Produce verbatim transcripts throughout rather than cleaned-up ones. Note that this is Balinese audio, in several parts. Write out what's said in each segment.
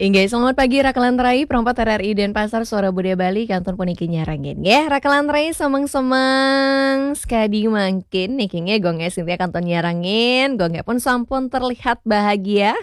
Inggih, selamat pagi Rakelan Rai, perempat R R I Denpasar, Suara Budaya Bali, kantun puniki nyarengin. Nggih, Rakelan Rai semeng-semeng sekadi mangkin niki nggih, Gong Sintia kantun nyarengin, Gong pun sampun terlihat bahagia.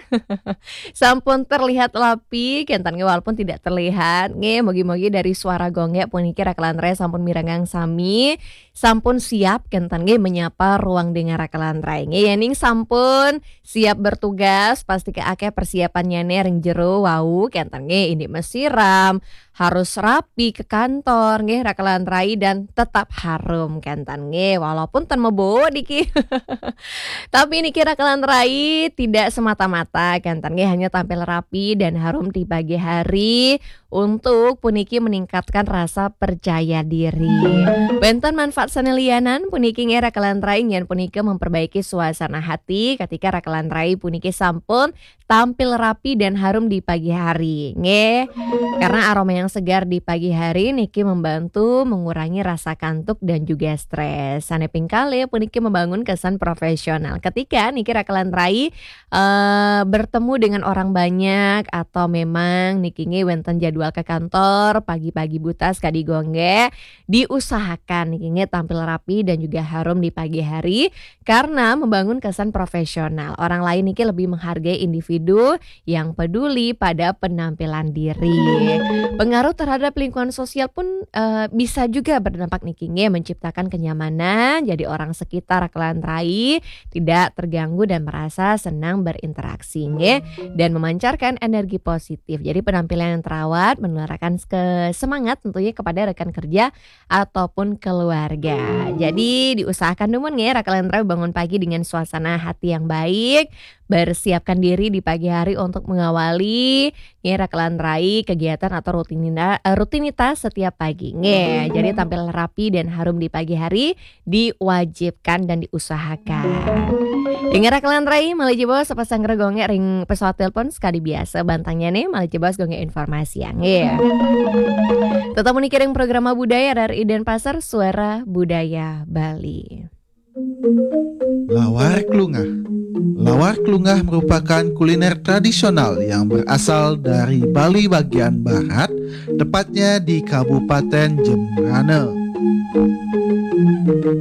Sampun terlihat rapi, kenten nggih, walaupun tidak terlihat. Nggih, mugi-mugi dari suara Gong puniki Rakelan Rai sampun mirengang sami, sampun siap kenten nggih menyapa ruang dengar Rakelan Rai. Nggih, yening sampun siap bertugas, pasti ke akeh persiapannya nih ring jero wau kenten nggih, ini mesiram, harus rapi ke kantor nggih Rakelan Rai dan tetap harum kenten nggih, walaupun ten mebo diki. Tapi niki Rakelan Rai tidak semata-mata kenten nggih, hanya tampil rapi dan harum di pagi hari untuk puniki meningkatkan rasa percaya diri. Wenten manfaat sane lianan puniki nggih Rakelan Rai, yen punika memperbaiki suasana hati ketika Rakelan Rai puniki sampun tampil rapi dan harum di pagi hari nggih. Karena aroma yang segar di pagi hari niki membantu mengurangi rasa kantuk dan juga stres. Sane ping kalih puniki membangun kesan profesional. Ketika niki Rakelan Rai eh, bertemu dengan orang banyak atau memang niki nggih wenten jadwal ke kantor pagi-pagi buta sekadi Gong nggih, diusahakan niki nggih tampil rapi dan juga harum di pagi hari karena membangun kesan profesional. Orang lain niki lebih menghargai individu yang peduli pada penampilan diri. Pengaruh terhadap lingkungan sosial pun eh, bisa juga berdampak niki nggih, menciptakan kenyamanan, jadi orang sekitar Rakelan Rai tidak terganggu dan merasa senang berinteraksi nggih, dan memancarkan energi positif. Jadi penampilan yang terawat menularkan ke semangat tentunya kepada rekan kerja ataupun keluarga. Jadi diusahakan dumun nggih Rakelan Rai bangun pagi dengan suasana hati yang baik, bersiapkan diri di pagi hari untuk mengawali nggih Rakelan Rai kegiatan atau rutinina- eh, rutinitas setiap pagi nggih. Jadi tampil rapi dan harum di pagi hari diwajibkan dan diusahakan. Dengar Rakelan Rai, malih jebos sepasang Gong ring pesawat telepon sekadi biasa bantangnya nih, malih jebos Gong informasi yang nggih. Tetap meniki ring program budaya R R I Denpasar, Suara Budaya Bali. Lawar Klungah. Lawar Klungah merupakan kuliner tradisional yang berasal dari Bali bagian barat, tepatnya di Kabupaten Jembrana.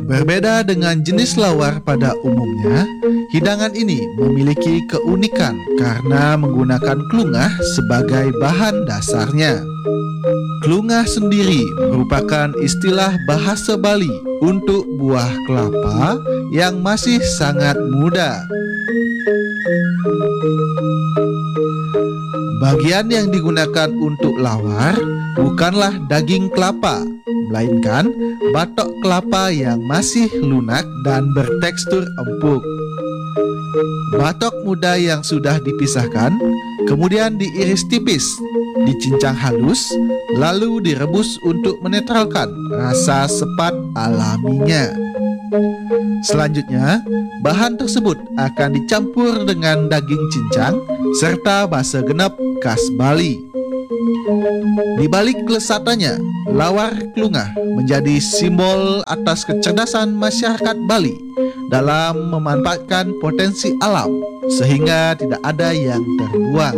Berbeda dengan jenis lawar pada umumnya, hidangan ini memiliki keunikan karena menggunakan klungah sebagai bahan dasarnya. Klungah sendiri merupakan istilah bahasa Bali untuk buah kelapa yang masih sangat muda. Bagian yang digunakan untuk lawar bukanlah daging kelapa, melainkan batok kelapa yang masih lunak dan bertekstur empuk. Batok muda yang sudah dipisahkan kemudian diiris tipis, dicincang halus, lalu direbus untuk menetralkan rasa sepat alaminya. Selanjutnya, bahan tersebut akan dicampur dengan daging cincang serta basa genep khas Bali. Di balik kelesatannya, lawar klungah menjadi simbol atas kecerdasan masyarakat Bali dalam memanfaatkan potensi alam sehingga tidak ada yang terbuang.